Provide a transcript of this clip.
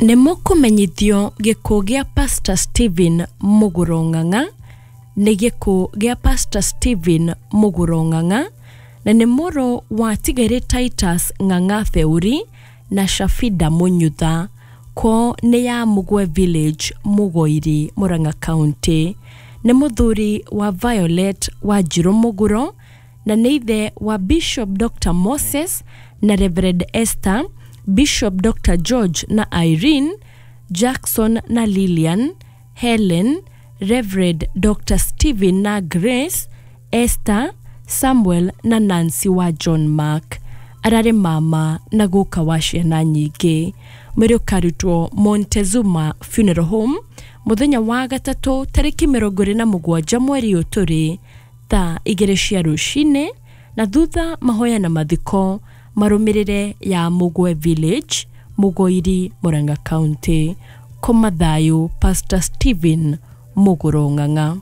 Nĩ mũkũmenyithio gĩkuũ gĩa Pastor Stephen Mũgũro Ng'ang'a. Nĩ gĩkuũ gĩa Pastor Stephen Mũgũro Ng'ang'a, na nĩ mũrũ wa Tigere Titus Ng'ang'a Theuri na Shafida Mũnyutha. Kwao nĩ ya Mũgwe Village, Mũgoiri, Murang'a County. Nĩ mũthuri wa Violet Wanjirũ Mũgũro, na nĩ ithe wa Bishop Dr. Moses na Reverend Esther, Bishop Dr. George na Irene, Jackson na Lilian, Helen, Reverend Dr. Stephen na Grace, Esther, Samuel na Nancy wa John Mark. Ararĩ mama na guka wa ciana nyingĩ. Mwĩrĩ ũkarutwo Montezuma Funeral Home mũthenya wa gatatũ tarĩki 27 mweri ũyũ tũrĩ, thaa 2 cia rũcinĩ, na thutha mahoya na mathiko marũmĩrĩre ya Mũgwe Village, Mũgoiri, Murang'a County. Koma thayũ Pastor Stephen Mũgũro Ng'ang'a.